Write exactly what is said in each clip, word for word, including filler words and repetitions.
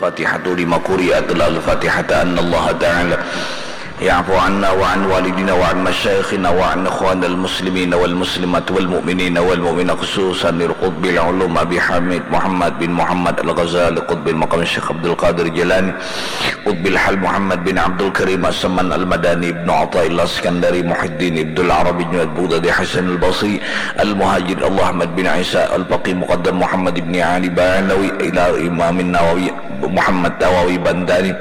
Fatihatu lima quri'at al-Fatihata anna Allah Ta'ala ya'fu anna wa an walidina wa an masyayikhina wa an ikhwanil muslimina wal muslimat wal mu'minina wal mu'minat khususan lil qutbil ulum Abi Hamid Muhammad bin Muhammad al-Ghazali qutbil maqam Syekh Abdul Qadir Jilani qutbil hal Muhammad bin Abdul Karim As-Saman al-Madani ibnu Athaillah Iskandari Muhyiddin ibnul Arabi Junaid Bughdadi Hasan al-Basri al-Muhajir Allah Ahmad bin Isa al-Faqih Muqaddam Muhammad ibni Ali Ba'alawi ila Imamin Nawawi Muhammad Nawawi Bantani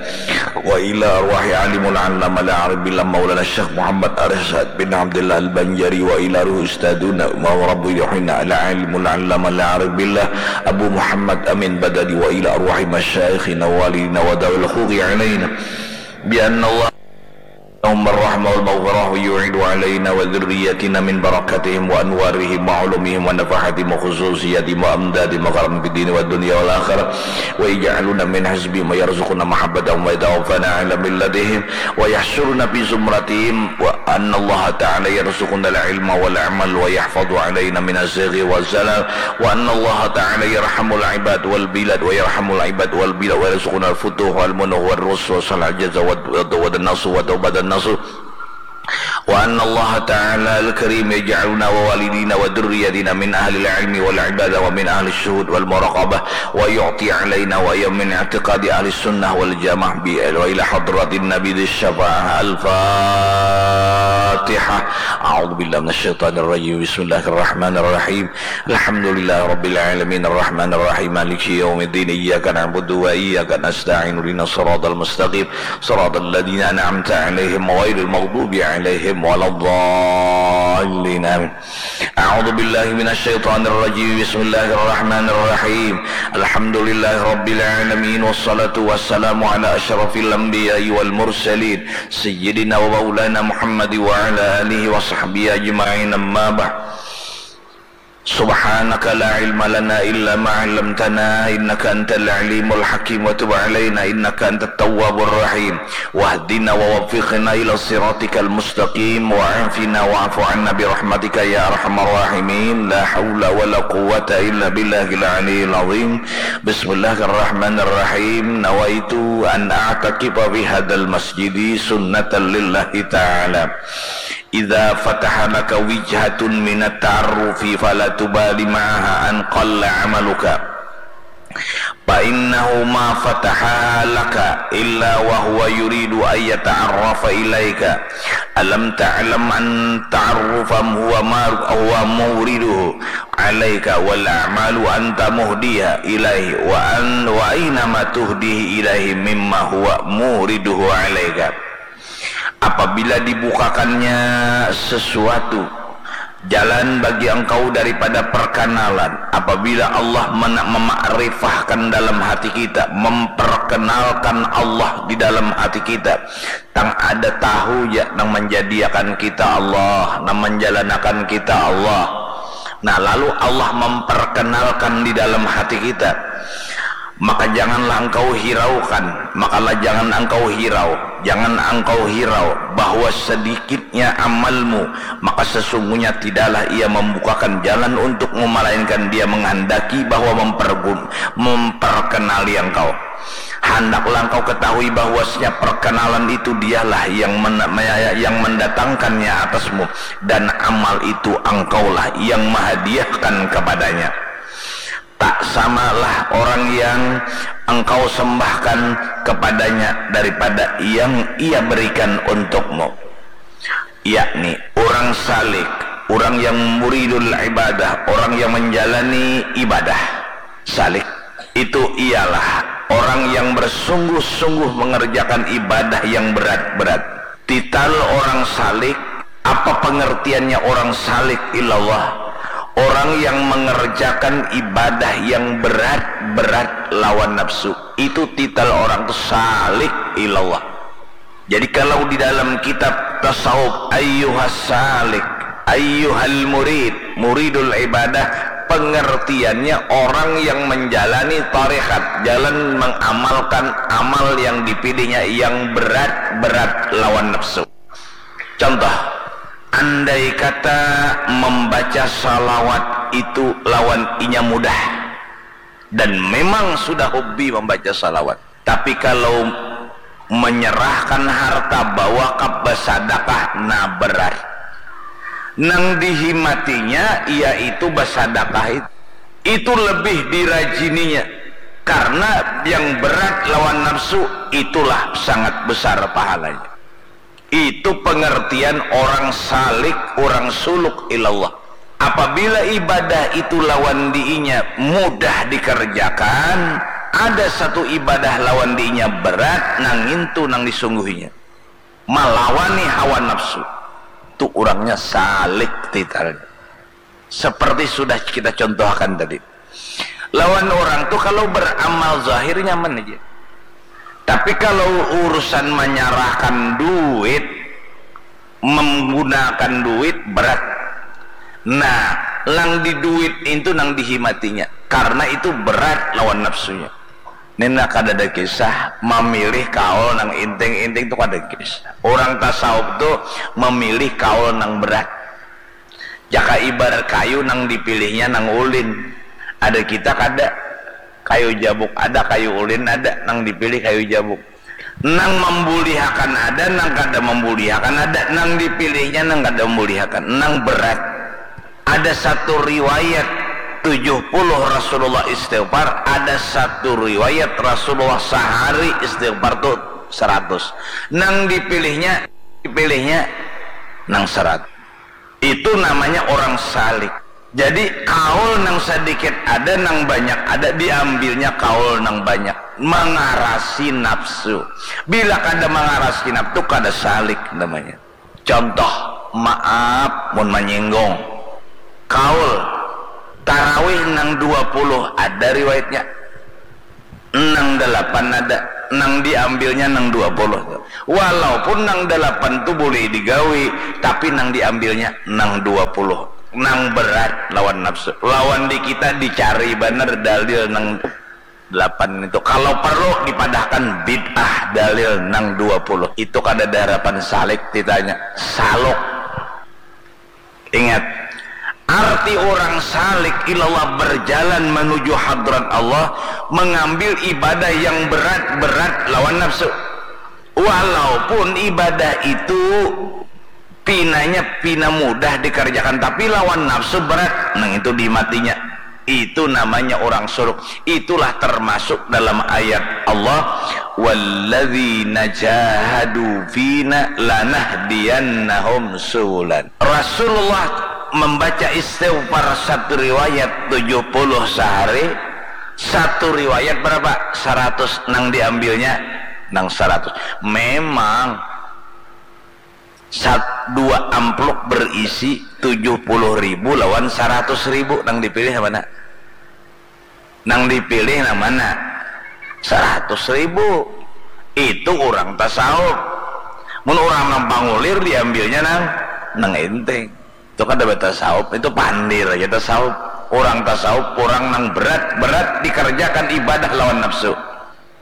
wa ila arwahi alimul allama al-arif billah maulana Syekh Muhammad Arsyad bin Abdullah al-Banjari wa ila ruhi ustaduna wa rabbi ruhina al-alimul allama al-arif billah Abu Muhammad Amin Badali wa ila arwahi masyayikhina wa walidina wa dawil huqi alaina bi anna Allah Allahumma rahmah wal maghfirah wa yu'idu alaina wa dzurriyyatina min barakatihim wa anwarihim wa ulumihim wa nafahatihim wa khususiyatihim wa amdadihim wa karam fid dini wa dunya wal akhirah wa ij'aluna min hasbihim wa yarzuquna mahabbatahum wa yatawaffana ala millatihim wa yahsyuruna fi zumratihim wa anna Allah ta'ala yarzuquna al ilma wal amal wa yahfadhu alaina min azighi wa zalal wa anna Allah ta'ala yarhamul ibad wal bilad wa yarhamul ibad wal bilad wa yarzuquna al futuh wal munuh wal ruswa salal jaza wa wa nasr wa taubat an nasr وأن الله تعالى الكريم يجعلنا ووالدينا وذرياتنا من أهل العلم والعبادة ومن أهل الشهود والمراقبة ويعطي علينا وإياهم من اعتقاد أهل السنة والجماعة وإلى حضرة النبي ذي الشفاعة الفاتحة أعوذ بالله من الشيطان الرجيم بسم الله الرحمن الرحيم الحمد لله رب العالمين الرحمن الرحيم مالك يوم الدين إياك نعبد وإياك نستعين اهدنا الصراط المستقيم صراط الذين أنعمت عليهم غير المغضوب عليهم ولا الضالين آمين أعوذ بالله من الشيطان الرجيم بسم الله الرحمن الرحيم الحمد لله رب العالمين والصلاة والسلام على أشرف الأنبياء والمرسلين سيدنا ومولانا محمد وعلى آله وصحبه أجمعين أما بعد سبحانك لا علم لنا إلا ما علمتنا إنك أنت العليم الحكيم وتب علينا إنك أنت التواب الرحيم واهدنا ووفقنا إلى صراطك المستقيم وعافنا واعف عنا برحمتك يا أرحم الراحمين لا حول ولا قوة إلا بالله العلي العظيم بسم الله الرحمن الرحيم نويت أن أعتكف في هذا المسجد سنة لله تعالى إذا فتح لك وجهة من التعرف فلا تبال معها أن قل عملك فإنه ما فتحها لك إلا وهو يريد أن يتعرف إليك ألم تعلم أن التعرف هو ما هو مورده عليك والأعمال أنت مهديها إليه وأن وأينما تهديه إليه مما هو مورده عليك Apabila dibukakannya sesuatu jalan bagi engkau daripada perkenalan, apabila Allah mena- memakrifahkan dalam hati kita, memperkenalkan Allah di dalam hati kita, tang ada tahu ja nang menjadiakan kita Allah, nang menjalanakan kita Allah. Nah, lalu Allah memperkenalkan di dalam hati kita, maka janganlah engkau hiraukan, makalah jangan engkau hirau, jangan engkau hirau bahwa sedikitnya amalmu, maka sesungguhnya tidaklah ia membukakan jalan untukmu, melainkan dia menghendaki bahwa mempergun, memperkenali engkau. Hendaklah engkau ketahui bahwasanya perkenalan itu dialah yang men- yang mendatangkannya atasmu, dan amal itu engkaulah yang menghadiahkan kepadanya. Tak samalah orang yang engkau sembahkan kepadanya daripada yang ia berikan untukmu. Yakni orang salik, orang yang muridul ibadah, orang yang menjalani ibadah. Salik itu ialah orang yang bersungguh-sungguh mengerjakan ibadah yang berat-berat. Tital orang salik, apa pengertiannya orang salik ilallah? Orang yang mengerjakan ibadah yang berat-berat lawan nafsu. Itu tital orang tu salik ilallah. Jadi kalau di dalam kitab tasawuf ayyuhas salik, ayyuhal murid, muridul ibadah, pengertiannya orang yang menjalani tarekat, jalan mengamalkan amal yang dipilihnya yang berat-berat lawan nafsu. Contoh, andai kata membaca salawat itu lawan inya mudah, dan memang sudah hobi membaca salawat, Tapi kalau menyerahkan harta, bawakaf, basadakah, nah berat. Nang dihimatinya yaitu basadakah itu. Itu lebih dirajininya. Karena yang berat lawan nafsu itulah sangat besar pahalanya. Itu pengertian orang salik, orang suluk ilallah. Apabila ibadah itu lawan diinya mudah dikerjakan, ada satu ibadah lawan diinya berat, nang ngintu nang disungguhinya. Malawani hawa nafsu. Tu urangnya salik titalnya. Seperti sudah kita contohkan tadi. Lawan orang tu kalau beramal zahir nyaman aja. Tapi kalau urusan menyerahkan duit, menggunakan duit berat. Nah, nang di duit itu nang dihimatinya. Karena itu berat lawan nafsunya. Nina kadada kisah memilih kaul nang inting-inting tu kada kisah. Orang tasawuf tu memilih kaul nang berat. Jaka ibarat kayu nang dipilihnya nang ulin. Ada kita kada. Kayu jabuk ada, kayu ulin ada, nang dipilih kayu jabuk. Nang membulihakan ada, nang kada membulihakan ada, nang dipilihnya nang kada membulihakan, nang berat. Ada satu riwayat tujuh puluh Rasulullah istighfar, ada satu riwayat Rasulullah sahari istighfar tu seratus. Nang dipilihnya, dipilihnya nang seratus. Itu namanya orang salik. Jadi kaul nang sedikit ada, nang banyak ada, diambilnya kaul nang banyak. Mengarasi nafsu. Bila kada mengarasi nafsu, kada salik namanya. Contoh, maaf mun menyinggung. Kaul tarawih nang dua puluh ada riwayatnya. Nang dalapan ada, nang diambilnya nang dua puluh. Walaupun nang dalapan tu boleh digawi, tapi nang diambilnya nang dua puluh. Nang berat lawan nafsu. Lawan di kita dicari banar dalil nang delapan itu. Kalau perlu dipadahkan bid'ah dalil nang dua puluh. Itu kada ada harapan salik ditanya. Saluk. Ingat, arti orang salik ilallah berjalan menuju hadrat Allah, mengambil ibadah yang berat-berat lawan nafsu. Walaupun ibadah itu pinanya pina mudah dikerjakan, tapi lawan nafsu berat, nang itu dimatinya. Itu namanya orang suluk. Itulah termasuk dalam ayat Allah, "Walladzina jahadu fina lanahdiyannahum subulana." Rasulullah membaca istighfar satu riwayat tujuh puluh sehari, satu riwayat berapa? Seratus. Nang diambilnya nang seratus. Memang sat-, dua amplop berisi tujuh puluh ribu lawan seratus ribu, nang dipilih yang mana? Nang dipilih nang mana? Seratus ribu. Itu orang tasawuf. Mun orang nang pangulir diambilnya nang, nang enteng. Itu kada batasawuf, itu pandir aja tasawuf. Orang tasawuf, orang nang berat, berat dikerjakan ibadah lawan nafsu.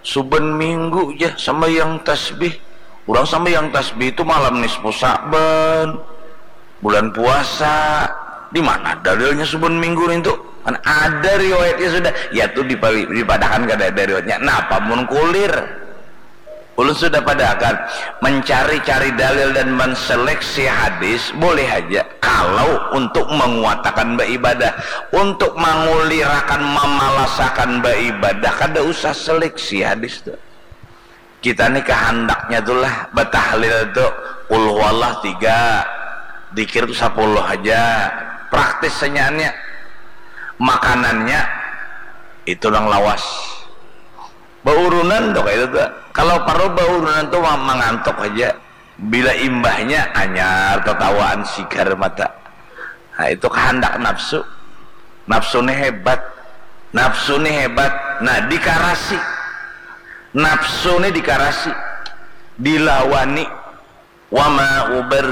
Suban minggu ja sambayang tasbih. Urang sambayang tasbih tu malam nisfu Sa'ban, bulan puasa. Di mana dalilnya suban minggu nintu? Kan ada riwayatnya sudah. Ya tu dipa-, dipadahakan kada ada riwayatnya. Napa mun kulir? Ulun sudah padahakan, mencari-cari dalil dan menseleksi hadis boleh haja. Kalau untuk menguatakan baibadah, untuk mangulirakan, mamalasakan baibadah, kada usah seleksi hadis tu. Kita ni kahandaknya tu lah batahlil tu, qul huwallah tiga, dikir tu sapuluh haja. Praktis senyaannya. Makanannya itu nang lawas. Baurunan tu kaitu tu. Kalau parlu baurunan tu ma-, mangantuk haja. Bila imbahnya, anyar tatawaan sigar mata. Nah, itu kahandak nafsu. Nafsu ni hebat. Nafsu ni hebat. Nah, dikarasi. Nafsu ni dikarasi. Dilawani. Wa ma ubar